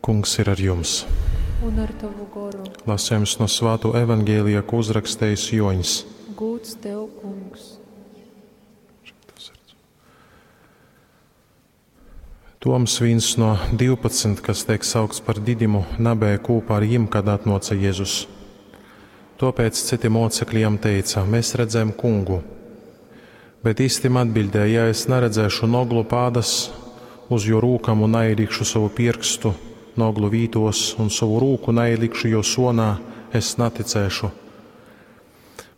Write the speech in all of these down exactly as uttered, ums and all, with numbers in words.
Kungs ir ar jums. Un ar tavu goru. Lasījums no Svāto evaņģēlija, ko uzrakstījis Joņs. Gūds tev, kungs. Toms, viens no divpadsmit, kas tiek saukts par Didimu, nabēja kopā ar jim, kad atnāca Jēzus. Tāpēc citi mocekļi jam teica: mēs redzējām kungu. Bet īstim atbildēja: ja es neredzēšu noglu pādas uz jo rūkam un neielikšu savu pirkstu noglu vītos un savu rūku neielikšu jo sonā, es neticēšu.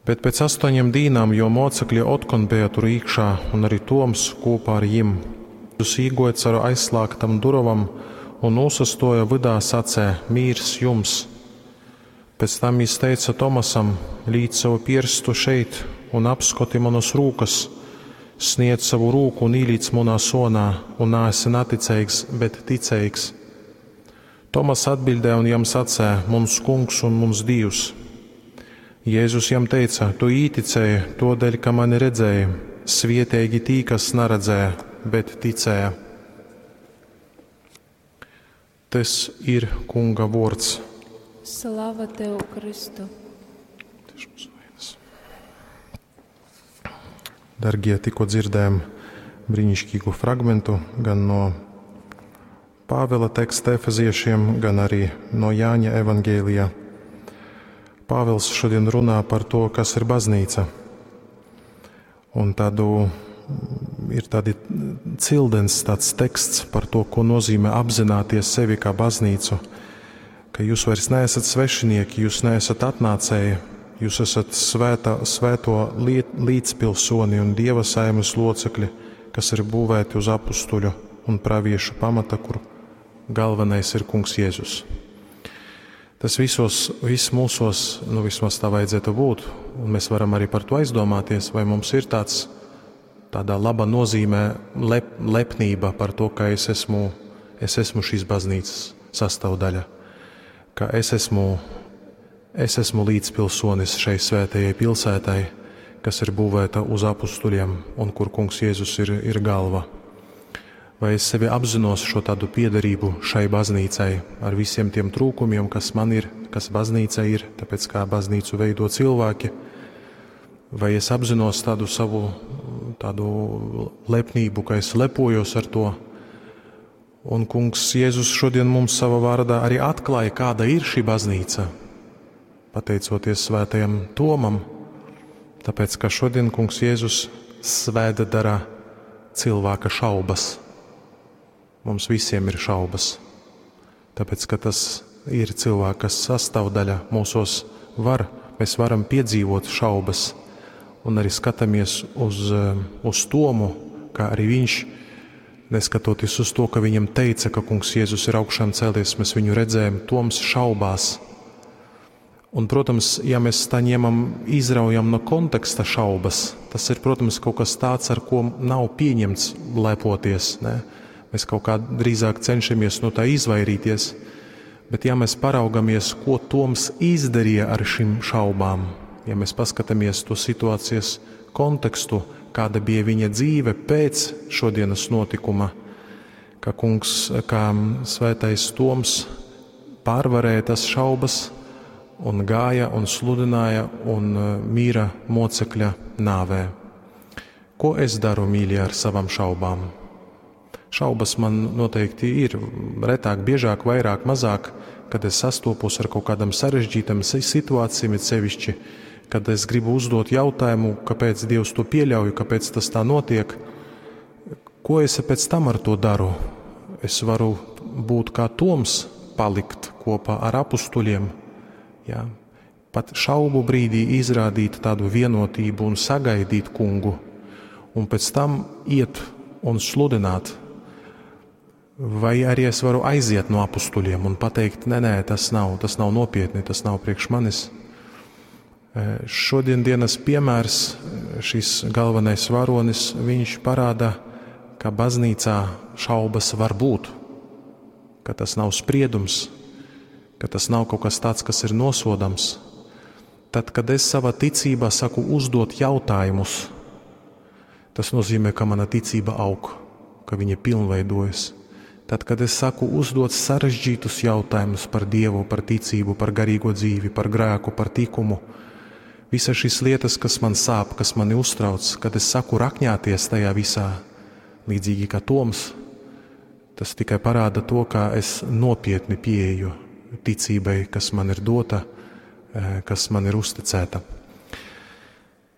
Bet pēc astoņiem dīnām, jo mocekļi otkon bija tur iekšā, un arī Toms kopā ar jim. Jēzus īgoja caur aizslēgtam durvam un nosastoja vydā sacē: mīrs jums. Pēc tam jis teica Tomasam: līdz savu pirkstu šeit un apskoti manas rūkas, sniedz savu rūku un īlīdz manā sonā, un neesi neticīgs, bet ticīgs. Tomas atbildēja un jam sacē: mums kungs un mums Dievs. Jēzus jam teica: tu īticēji todēļ, ka mani redzēji, svietīgi tī, kas neredzēja, bet ticēja. Tas ir Kunga vārds. Slava tev, Kristu! Dargie, tikko dzirdējām brīnišķīgu fragmentu gan no Pāvila teksta Efeziešiem, gan arī no Jāņa evaņģēlijā. Pāvils šodien runā par to, kas ir baznīca. Un tādu ir tādi cildens tāds teksts par to, ko nozīmē apzināties sevi kā baznīcu, ka jūs vairs neesat svešinieki, jūs neesat atnācēji, jūs esat svētā, svēto līdzpilsoni un Dieva saimes locekļi, kas ir būvēti uz apustuļu un praviešu pamata, kur galvenais ir Kungs Jēzus. Tas visos, viss mūsos, nu vismaz tā vajadzētu būt, un mēs varam arī par to aizdomāties, vai mums ir tāds, tādā laba nozīmē lep, lepnība par to, ka es esmu, es esmu šīs baznīcas sastāvdaļa, ka es esmu, es esmu līdzpilsonis šai svētajai pilsētai, kas ir būvēta uz apustuļiem un kur Kungs Jēzus ir, ir galva. Vai es sevi apzinos šo tādu piederību šai baznīcai ar visiem tiem trūkumiem, kas man ir, kas baznīca ir, tāpēc kā baznīcu veido cilvēki, vai es apzinos tādu savu tādu lepnību, ka es lepojos ar to. Un Kungs Jēzus šodien mums savā vārdā arī atklāja, kāda ir šī baznīca, pateicoties svētajam Tomam, tāpēc, ka šodien Kungs Jēzus svēta dara cilvēka šaubas. Mums visiem ir šaubas, tāpēc, ka tas ir cilvēka sastāvdaļa mūsos var, mēs varam piedzīvot šaubas, un arī skatāmies uz, uz Tomu, kā arī viņš, neskatoties uz to, ka viņam teica, ka Kungs Jēzus ir augšām cēlies, mēs viņu redzējām, Toms šaubās. Un, protams, ja mēs tā ņemam, izraujam no konteksta šaubas, tas ir, protams, kaut kas tāds, ar ko nav pieņemts lepoties, ne? Mēs kaut kā drīzāk cenšamies no tā izvairīties, bet ja mēs paraugamies, ko Toms izdarīja ar šīm šaubām, ja mēs paskatāmies to situācijas kontekstu, kāda bija viņa dzīve pēc šodienas notikuma, ka kungs, kā svētais Toms pārvarēja tas šaubas un gāja un sludināja un mīra mocekļa nāvē. Ko es daru, mīļie, ar savām šaubām? Šaubas man noteikti ir retāk, biežāk, vairāk, mazāk, kad es sastopos ar kaut kādam sarežģītam situācijām, it sevišķi, kad es gribu uzdot jautājumu, kāpēc Dievs to pieļauj, kāpēc tas tā notiek. Ko es pēc tam ar to daru? Es varu būt kā Toms, palikt kopā ar apustuļiem, jā. Pat šaubu brīdī izrādīt tādu vienotību un sagaidīt kungu, un pēc tam iet un sludināt. Vai arī es varu aiziet no apustuļiem un pateikt, nē, nē, tas nav, tas nav nopietni, tas nav priekš manis. Šodien dienas piemērs, šis galvenais varonis, viņš parāda, ka baznīcā šaubas var būt, ka tas nav spriedums, ka tas nav kaut kas tāds, kas ir nosodams. Tad, kad es savā ticībā saku uzdot jautājumus, tas nozīmē, ka mana ticība aug, ka viņa pilnveidojas. Tad, kad es sāku uzdot sarežģītus jautājumus par Dievu, par ticību, par garīgo dzīvi, par grēku, par tikumu, visas šīs lietas, kas man sāp, kas mani uztrauc, kad es saku rakņāties tajā visā, līdzīgi kā Toms, tas tikai parāda to, kā es nopietni pieeju ticībai, kas man ir dota, eh, kas man ir uzticēta.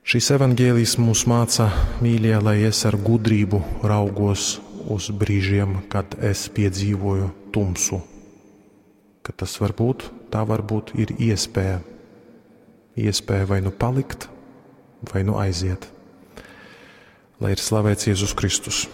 Šis evaņģēlijs mūs māca, mīļie, lai es ar gudrību raugos uz brīžiem, kad es piedzīvoju tumsu. Ka tas var būt, tā varbūt ir iespēja. Iespēja vai nu palikt, vai nu aiziet. Lai ir slavēts Jēzus Kristus.